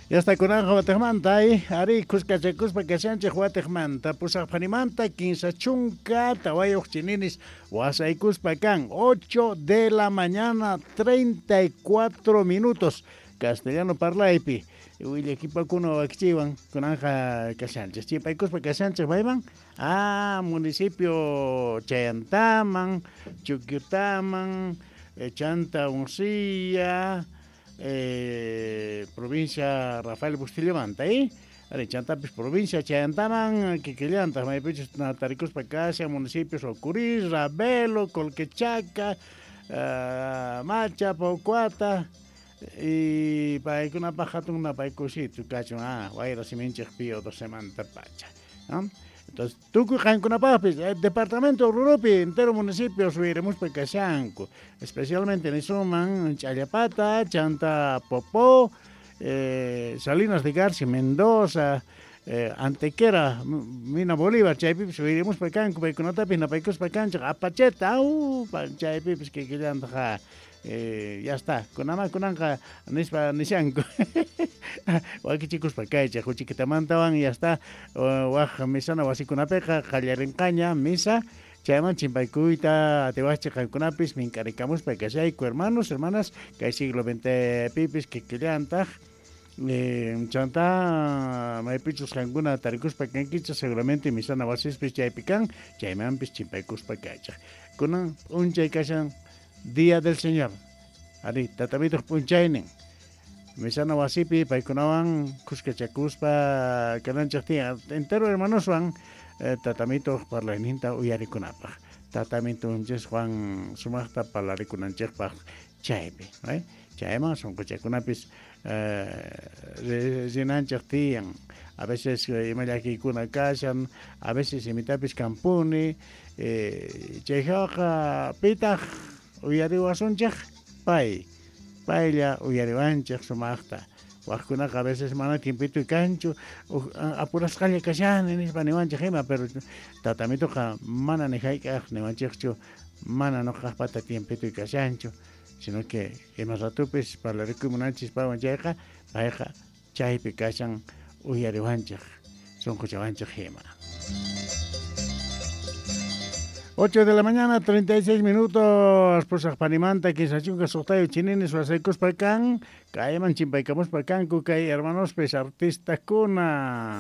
Ya está kunanqa watiqmanta ari kuskachakuspa kashanchik watiqmanta pusaqphanimanta 34 chininis wasaykuspa kan 8 de la mañana 34 minutos castellano parlaypi willakipakuna wakichiwan kunanqa kashanchik chipaykuspa kashanchik mayman municipio Chayantaman, Chuquiutaman, Chanta Uncilla, provincia Rafael Bustillamanta, Ari chantapis provincia Chayantaman, kikillantaq maypichus tarikuspa kashan municipios Ocurí, Ravelo, Colquechaca, Macha, Paucuata y paykunapaq hatun napaykusitu kachun wayra siminchik Pío 12 pacha, ¿no? Entonces, tukuy qankunapaqpis, departamento Oruropi, entero municipio subiremuspa kashanku, especialmente nisuman Challapata, Chanta Popó, Salinas de Garci, Mendoza, Antequera, Mina Bolívar, chaypipis subiremuspa kanku, paykunatapis napaykuspa kanchik, Apacheta, chaypipis kikillantaq ya está, kunama kunanqa nispa nishanku wakichikuspa kaychik huchikitamantawan ya está, waq misana wasikunapiqa qallarinqaña misa chayman chimpaykuyta atiwaqchik qankunapis mink'arikamuspa kashayku hermanos, hermanas, kay siglo XX pipis kikillantaq chanta maypichus qankuna tarikuspa kankichik seguramente misana wasispis chaypi kan chaymanpis chimpaykuspa kaychik kunan p'unchay kashan Día del Señor. Ari, tatamituq p'unchaynin. Misana wasipi paykunawan kuskachakuspa kananchik tiyan. Entero hermanoswan tatamituq parlayninta uyarikunapaq. Tatamitunchikwan sumaqta parlarikunanchikpaq chaypi, Chayman sunquchakunapis rinanchik tiyan. A veces ima llakiykuna kashan, a veces imitapis kampuni, chayqa pitaq uyariwasunchik pay, paylla uyariwanchik sumaqta. Waqkunaqa a veces mana tiempito kanchu, apurasqalla kashani nispa niwanchik ima, pero tatamituqa mana ni hayk'aq niwanchikchu, mana nuqaqpata tiempito kashanchu, sino que ima ratupis parlarikuy munanchis paywan chayqa, payqa chaypi kashan uyariwanchik, sunquchawanchik ima. 8 de la mañana, 36 minutos, pusaqpanimanta, 36 chininis wasaykuspa kan, kayman chimpaykamuspa kanku kay hermanospis artistakuna.